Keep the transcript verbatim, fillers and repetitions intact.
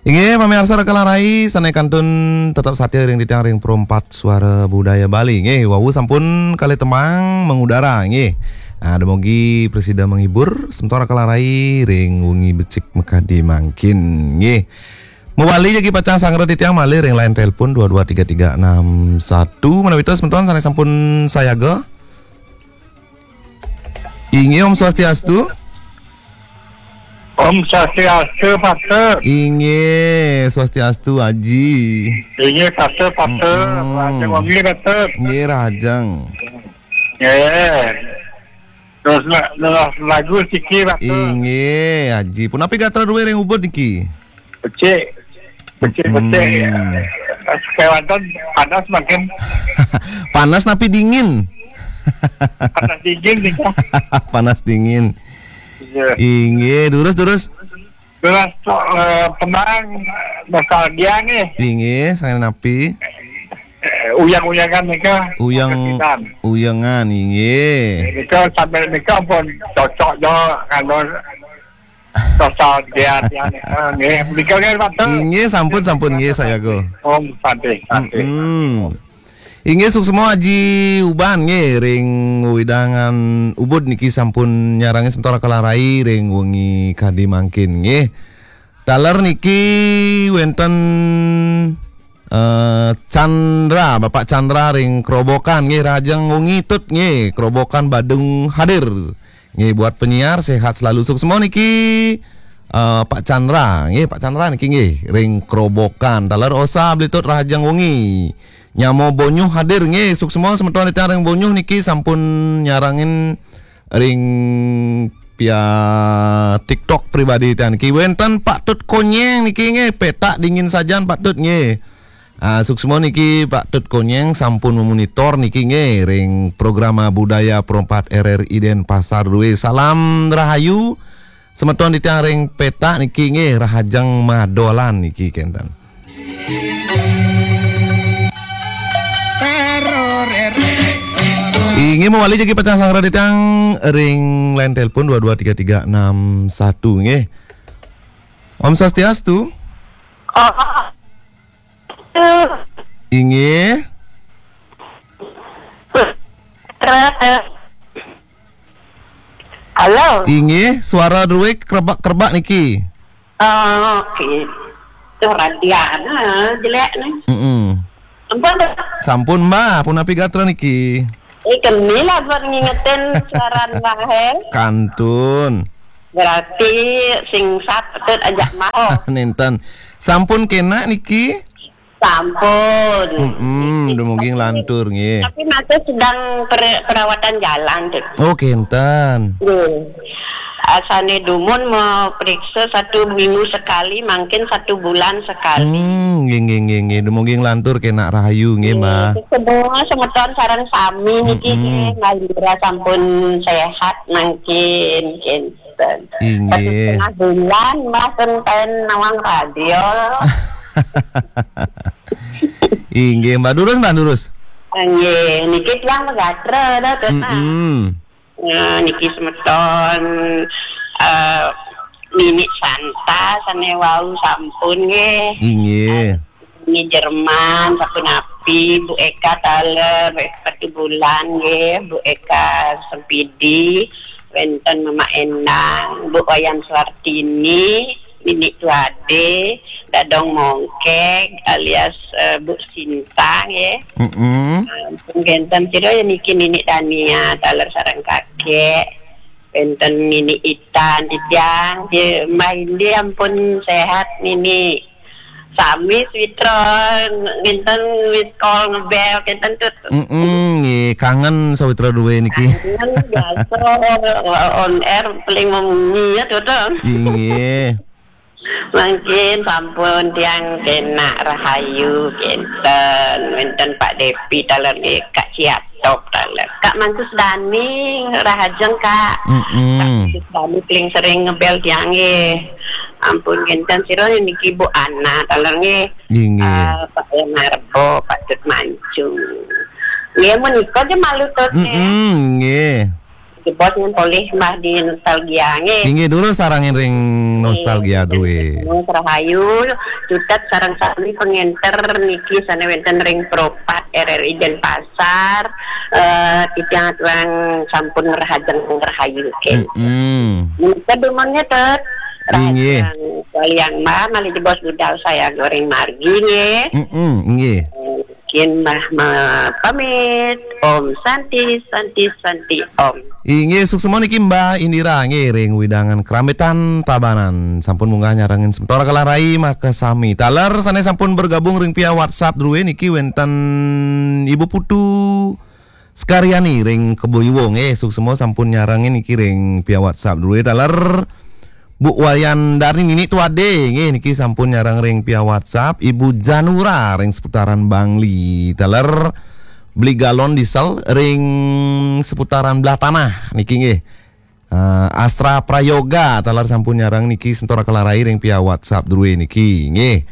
Inggih, pamiarsa Raka Larai, sané kantun tetep satia ring titiang ring Pro empat Suara Budaya Bali. Nggih, wau sampun kalih tembang mengudara, nggih. Ah, dumogi prasida menghibur semeton Raka Larai ring wengi becik makadi mangkin, nggih. Mawali jagi pacang sanggra titiang malih ring line telepon dua dua tiga tiga enam satu. Menawi tos semeton sané sampun sayaga. Inggih, Om Swastiastu. Om Swastiastu, Patut. Inggih, Swastiastu, Aji. Inggih, Patut, Patut. Mm-mm. Rahajeng wengi, Patut. Inggih, rahajeng. Nggih. Terus la-, leres lagu siki, Patut. Inggih, Aji. Punapi gatra drué ring Ubud niki? Becik. Becik-becik. Mm-mm. Kéwanten panas mangkin. Panas napi dingin? Panas dingin nika. Panas dingin. Iya. Inggih, durus, durus. Durus, eh, tembang nostalgia nih. Inggih, sané napi? Eh, uyang-uyangan nika. Uyang, Kasihan. Uyangan, inggih. Nika sambil nika pun cocok jo, kalau nostalgia tiang nika, nggih. Nika, nggih, Patut. Inggih, sampun, sampun, nggih, sayaga. Om Santi, Santi. Mm-mm. Inggih, suksma Aji Uban, nggih, ring wewidangan Ubud niki sampun nyarengin semeton Raka Larai ring wengi kadi mangkin, nggih. Taler niki wénten, eh, Chandra, Bapak Chandra ring Kerobokan, nggih, rahajeng wengi Tut, nggih, Kerobokan Badung hadir. Nggih, buat penyiar, sehat selalu, suksma niki, eh, Pak Chandra. Nggih, Pak Chandra niki nggih, ring Kerobokan. Taler Osa Blitut, rahajeng wengi. Nyama Bonyuh hadir nggih, suksma semeton titiang ring Bonyuh niki sampun nyarengin ring via TikTok pribadi titiang niki. Wénten Pak Tut Konyeng niki nggih, petak dingin sajan Pak Tut nggih. Ah, suksma niki Pak Tut Konyeng sampun memonitor niki nggih ring programa budaya Pro empat R R I Denpasar dué. Salam rahayu. Semeton titiang ring petak niki nggih rahajeng madolan niki kénten. Inggih mawali jagi pacang sanggra titiang ring line telepon dua dua tiga tiga enam satu nggih. Om Swastiastu. Oh. Inggih. Halo. Inggih, suara drué kerebak-kerebak niki. Oh, oke. Tuh, Radiana jelek nih. Mm-mm. Ampun, Pak. Sampun, Mbah, punapi gatra niki? Eh, keni lah buat ngingetin siaran Mbah, eh. Kantun. Berarti sing sat Patut ajak Mbah. Oh. Nénten. Sampun kénak niki? Sampun. Mm-mm, dumugi nglantur, nggih. Tapi masih sedang per-, perawatan jalan, Tut. Oh, kénten. Nggih. Asané dumun mau periksa satu minggu sekali, mungkin satu bulan sekali. Hmm, nggih, nggih, nggih, nggih. Dumugi nglantur kénak rahayu, nggih, Mbah. Nggih, semua semeton sareng sami niki, mm-mm, nggih, Mbah Indra sampun sehat mangkin, nggih. Inggih. Satu setengah bulan, Mbah, ten nawang radio. Inggih, Mbah. Durus, Mbah, durus. Inggih, niki tiang megatra dah, Tut, nah. Mm-mm. Nah, niki semeton, eh, Nini Santa sané wau sampun nggih. Inggih. Nini Jerman, sapunapi, Bu Eka taler, Bu Eka Batubulan nggih, Bu Eka Sempidi, wénten Mama Endang, Bu Wayan Suartini, Nini Tuade, Dadong Mongkeg alias, eh, Bu Sinta nggih. Mm-mm. Ampun, kénten sira ya niki Nini Dania taler sareng kakek. Wénten Nini Itan, titiang, ya, Mbah Indi ampun sehat Nini. Sami sawitra, wénten miss call ngebel, kénten Tut. Mm-mm, nggih, kangen sawitra duwe niki. Kangen, biasa, on air paling memunyi ya, Tut. Inggih. Mangkin sampun tiang kenak rahayu, kénten, wénten Pak Depi, taler nggih, Kak Ciatop, taler. Kak Mantus Dani, rahajeng, Kak. Mm-mm. Kak Mantus Dani paling sering ngebel tiang nggih. Ampun, kénten sira niki Bu Ana, taler nggih. Inggih. Eh, Pak Enarbo, Pak Tut Mancung. Nggih, menika aja malu Tut, nggih. Mm-mm, nggih. Jebos nyen polih Mbah di nostalgia nggih. Inggih, durus sareng ring nostalgia drué. Rahayu, Cutet sareng sami pengenter niki sané wénten ring Pro empat R R I Denpasar, eh, titiang aturang sampun ngrahajeng rahayu, nggih. Mm-mm. Nika dumun nggih, Tut. Inggih. Rahajeng kalian Mbah, malih jebos budal saya goreng margi nggih. Mm-mm, inggih. Mungkin Mbah ma-, pamit. Om Santi, Santi, Santi, Om. Inggih, suksma niki Mbah Indira nggih ring wewidangan Krambetan Tabanan. Sampun munggah nyarengin semeton kalarai makasami. Taler sané sampun bergabung ring via WhatsApp drué niki wénten Ibu Putu Sekaryani ring Kebo Iwa nggih. Suksma sampun nyarengin niki ring via WhatsApp drué. Taler Bu Wayan Darni Nini Tuade nggih niki sampun nyareng ring via WhatsApp. Ibu Janura ring seputaran Bangli. Taler beli galon diesel ring seputaran Belah Tanah niki nggih. Eh, Astra Prayoga taler sampun nyareng niki semeton kalarai ring via WhatsApp drué niki nggih.